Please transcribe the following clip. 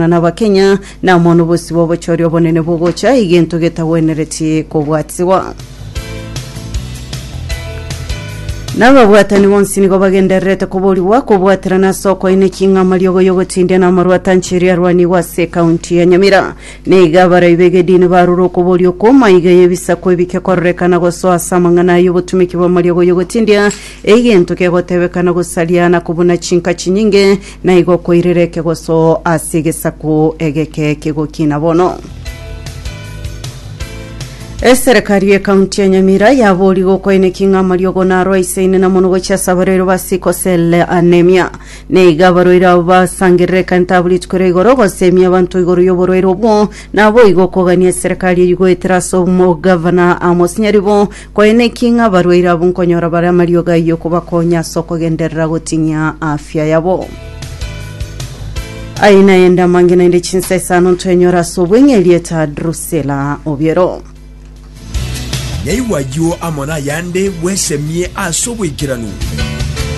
N'Abakenya, na amo nobosio bw'obochori obonene bogocha, egento getagwenereti kobwatigwa. Nababwatani bonsi nigo bagendererete koborigwa kobwaterana ase okoeneki ng'a amariogo y'ogotindia na amarwa atanchiri arwanigwe ase ekaunti ya Nyamira. Nigo abarai b'egedini barure okoboria okwo maiga y'ebisaku ebike kororekana gosoa ase amang'ana ay'obotumeki bw'amariogo y'ogotindia, egento kegotebekana gosaria na kobuna chinka chinyinge, Na igo koirera ekegoso ase egesaku egeke kegokina bono. Eserekari y'ekaunti ya Nyamira yaborigwe okoeneki ng'a amariogo naro aisaine na mono gochia ase abarwaire ba sickle cell anemia. Nigo abarwaire abo basangererekanete abwo rituko ria igoro gosemia abanto igoro y'oborwaire obwo naboigo okogania eserekari eyio goetera ase omogavana Amos Nyaribo Koeneki ng'a abarwaire abwo nkonyora bare amariogo ayio kobakonya ase okogenderera gotinyia afya yabo. Aye nayende amange naende chinsa isano ntwenyore ase obweng'e erieta Drusilla Obiero. Naigwe ayio amo nayande bwesemie ase oboikeranu.